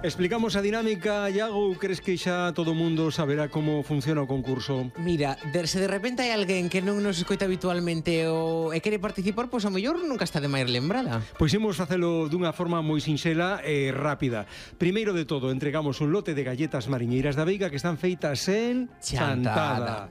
Explicamos a dinámica, Iago, crees que xa todo o mundo saberá como funciona o concurso? Mira, se de repente hai alguén que non nos escoita habitualmente e quere participar, pois a mellor nunca está de máis lembrada. Pois imos facelo dunha forma moi sinxela e rápida. Primeiro de todo, entregamos un lote de galletas mariñeiras da Veiga que están feitas en chantada.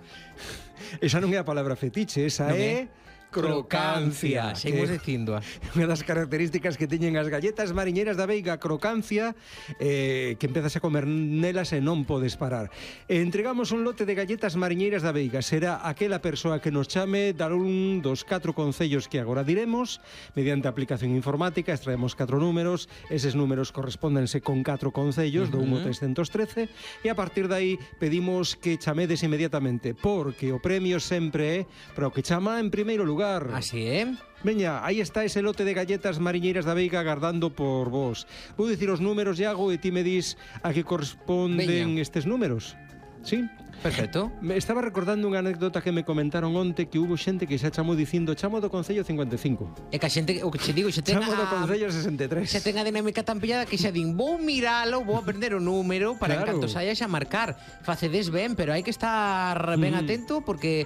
Esa non é a palabra fetiche, esa é crocancia. Seguimos dicindo. Unha das características que teñen as galletas mariñeiras da Veiga, crocancia, que empezas a comer nelas e non podes parar. Entregamos un lote de galletas mariñeiras da Veiga. Será aquela persoa que nos chame dar un dos 4 concellos que agora diremos. Mediante aplicación informática extraemos 4 números. Eses números correspóndense con 4 concellos, do 1 ao 313, e a partir de aí pedimos que chamedes inmediatamente, porque o premio sempre é para o que chama en primeiro lugar. Así é. Veña, aí está ese lote de galletas mariñeiras da Veiga agardando por vos. Vou dicir os números, Iago, e ti me dis a que corresponden estes números. Sí? Perfecto. Me estaba recordando unha anécdota que me comentaron onte, que hubo xente que xa chamou dicindo chamo do Concello 55. É que a xente, o que che digo, xa ten Chamo do Concello 63. Xa ten a dinámica tan pillada que xa din, vou miralo, vou aprender o número para Claro. en canto saia xa marcar. Facedes ben, pero hai que estar ben atento porque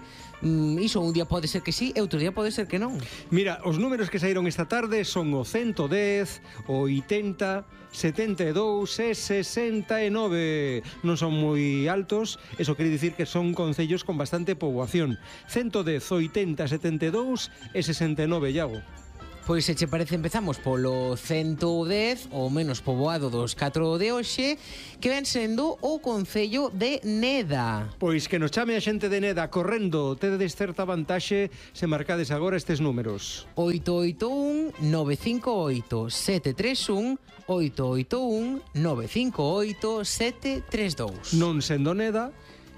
iso un día pode ser que sí e outro día pode ser que non. Mira, os números que saíron esta tarde son o 110, o 80, 72 e 69. Non son moi altos, eso quere dicir que son concellos con bastante poboación. 110, 80, 72 e 69, Iago. Pois se che parece empezamos polo 110, o menos poboado dos 4 de hoxe, que ven sendo o concello de Neda. Pois que nos chame a xente de Neda correndo, tedes certa vantaxe se marcades agora estes números. 881 958 731 881 958 732. Non sendo Neda,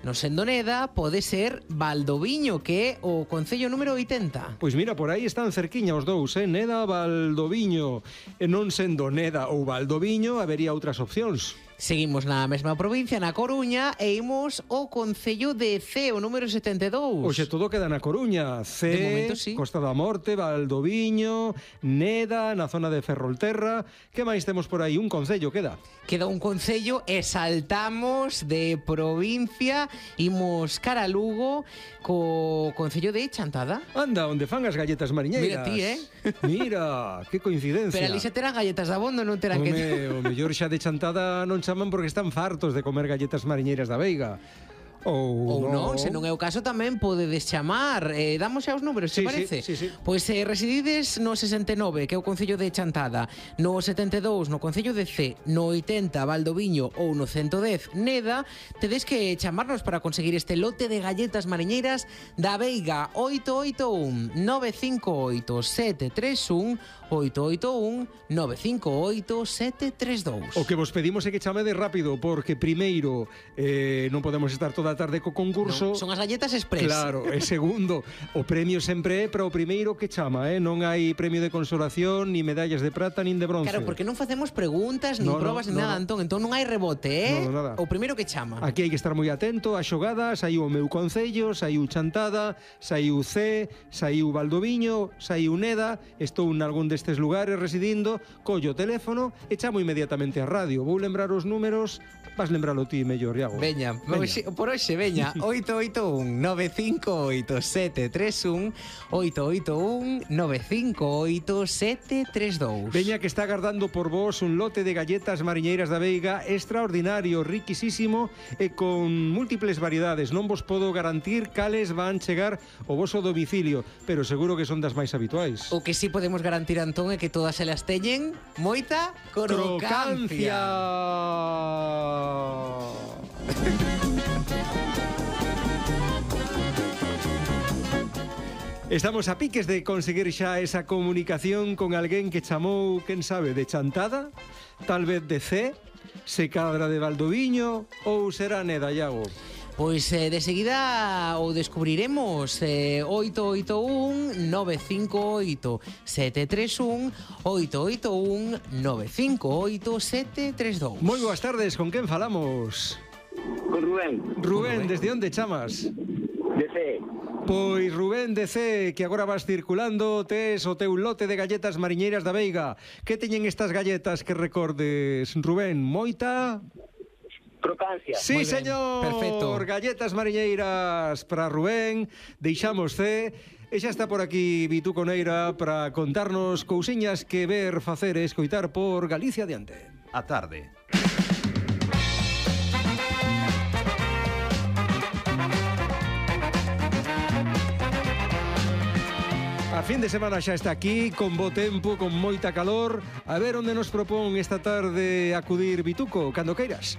Non sendo Neda, pode ser Valdoviño, que é o concello número 80. pois mira, por aí están cerquiña os dous, Neda, Valdoviño. E non sendo Neda ou Valdoviño, habería outras opcións. Seguimos na mesma provincia, na Coruña, e imos ao concello de Cee, o número 72. Oxe, todo queda na Coruña. De momento, sí. Costa da Morte, Valdoviño, Neda, na zona de Ferrolterra. Que máis temos por aí? Un concello queda. Queda un concello e saltamos de provincia, imos cara a Lugo co concello de Chantada. Anda, onde fan as galletas mariñeiras. Mira ti, Mira, que coincidencia. Pero ali xa terán galletas de abondo, non terán que... O mellor xa de Chantada non chaman porque están fartos de comer galletas mariñeiras da Veiga. Ou non, se non é o caso tamén podedes chamar. Damos xa os números, se parece? Sí. Pois residides no 69, que é o concello de Chantada, no 72 no concello de Cee, no 80 Valdoviño ou no 110 Neda, tedes que chamarnos para conseguir este lote de galletas mariñeiras da Veiga. 881 958 731 881 958 732. O que vos pedimos é que chamedes rápido, porque primeiro non podemos estar toda a tarde co concurso. Non, son as galletas express. Claro, e segundo, o premio sempre é para o primeiro que chama, non hai premio de consolación, ni medallas de prata, nin de bronce. Claro, porque non facemos preguntas, nin probas, nin nada, Antón. Entón non hai rebote, No, nada. O primeiro que chama. Aquí hai que estar moi atento á xogada. Saiu o meu concello, saiu Chantada, saiu Cee, saiu Valdoviño, saiu Neda. Estou en algún destes lugares residindo, collo o teléfono e chamo inmediatamente a radio. Vou lembrar os números, vas lembralo ti mellor, Iago. Veña. Por hoxe, veña, 881 958 731 881 958 732. Veña, que está agardando por vos un lote de galletas mariñeiras da Veiga extraordinario, riquisísimo e con múltiples variedades. Non vos podo garantir cales van chegar ao voso domicilio, pero seguro que son das máis habituais. O que sí podemos garantir, Antón, é que todas elas teñen moita crocancia. Estamos a piques de conseguir xa esa comunicación con alguén que chamou, quen sabe, de Chantada, tal vez de Cee, se cadra de Valdoviño ou será Neda, Iago. Pois de seguida o descubriremos. 881 958 731 881 958 732. Moi boas tardes, con quen falamos? Con Rubén. Rubén, desde onde chamas? De C. Pois Rubén de C, que agora vas circulando, tes o teu lote de galletas mariñeiras da Veiga. Que teñen estas galletas que recordes, Rubén? Moita... Crocancia. Sí, Moi ben, señor. perfecto. Galletas mariñeiras para Rubén. Deixamos C. E xa está por aquí Vituco Neira para contarnos cousiñas que ver, facer e escoitar por Galicia Adiante. A tarde. A fin de semana xa está aquí, con bo tempo, con moita calor. A ver onde nos propón esta tarde acudir Vituco, cando queiras.